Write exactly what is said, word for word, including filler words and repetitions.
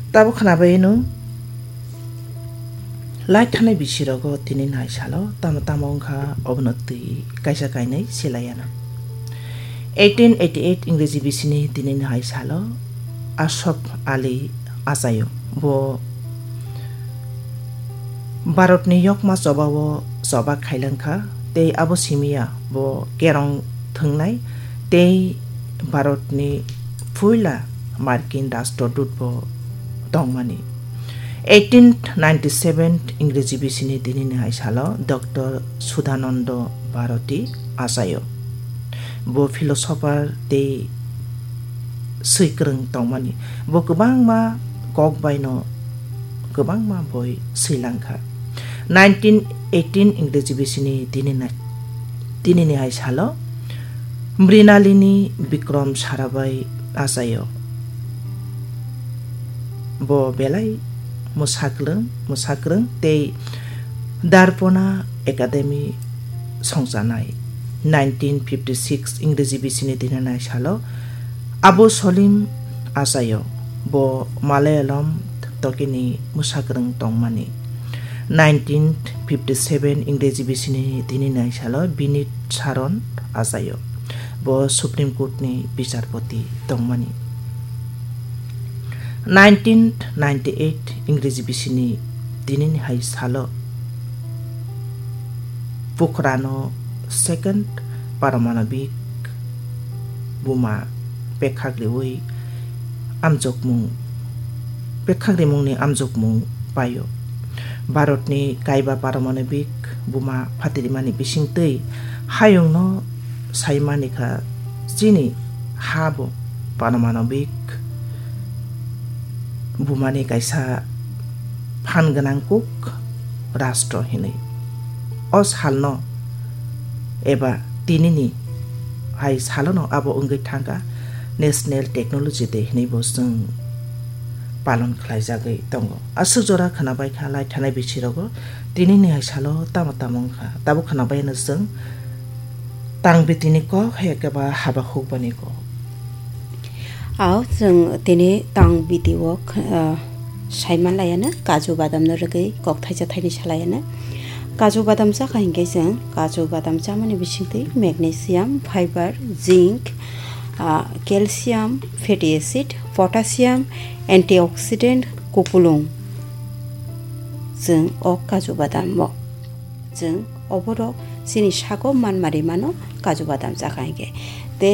Tabuk khwnabaino lai thanai bisirogo tini nai salo tamo tamo wngkha obono twi kaisa kainwi silaiano. Eighteen eighty eight Ingreji bisini tini nai salo Asaf Ali achaio. Bo Bharatni yokma chobao choba khailangkha tei abo simiya bo kerong thwngnai tei Bharatni puila Markin Rastrodut bo tongmani. Eighteen ninety seven Ingreji bisini tinini hai salo Doctor Sudhananda Bharati achaio. Bo philosopher tei swikwrwng tongmani. Bo kwbangma kok baino kwbangma boi swilangkha. Nineteen eighteen Ingreji bisini tinini, tinini hai salo Mrinalini Bikram Sarabhai achaio. Bo belai mwsaklwng, mwsakrwng tei Darpona Academy songchanai. Nineteen fifty six Ingreji bisini tinini hai salo Abu Salim achaio. Bo Malayalam tokini mwsakrwng tongmani. Nineteen fifty seven Ingreji bisini tinini hai salo Binit Saran achaio. Bo Supreme Court ni bicharpoti tongmani. Nineteen ninety eight Ingreji bisini tinini hai salo Pokhrano second paramanobik buma pekhak riwi amjokmung, pekhak rimungni amjokmung paio. Bharatni kaiba paramanobik buma phatirimani bisingtwi hayungno saimani kha chini ha bo paramanobik bumani kaisa phan gwnang kuk rastro hinwi. O salno eba tinini hai salono abo wngwi thangkha National Technology Day hinwi bo chwng palon khlaijagwi tongo. Aswk jora khwnabai kha lai thanai bisirogo tinini hai salo tamo tamo wngkha. Tabuk khwnabaino chwng tang bitini kok hai khe ba haba hukbani kok. Ao chwng tini tang biti o, ah, saiman laiano kaju badam no rwgwi kok thaisa thaini salaiano. Kaju badam chakha hinkhe chwng kaju badam chamani bisingtwi magnesium, fiber, zinc, ah, calcium, fatty acid, potassium, antioxidant, kupulung. Chwng o kaju badam o Chwng oborok chini sago manmari mano kaju badam chakha hinkhe.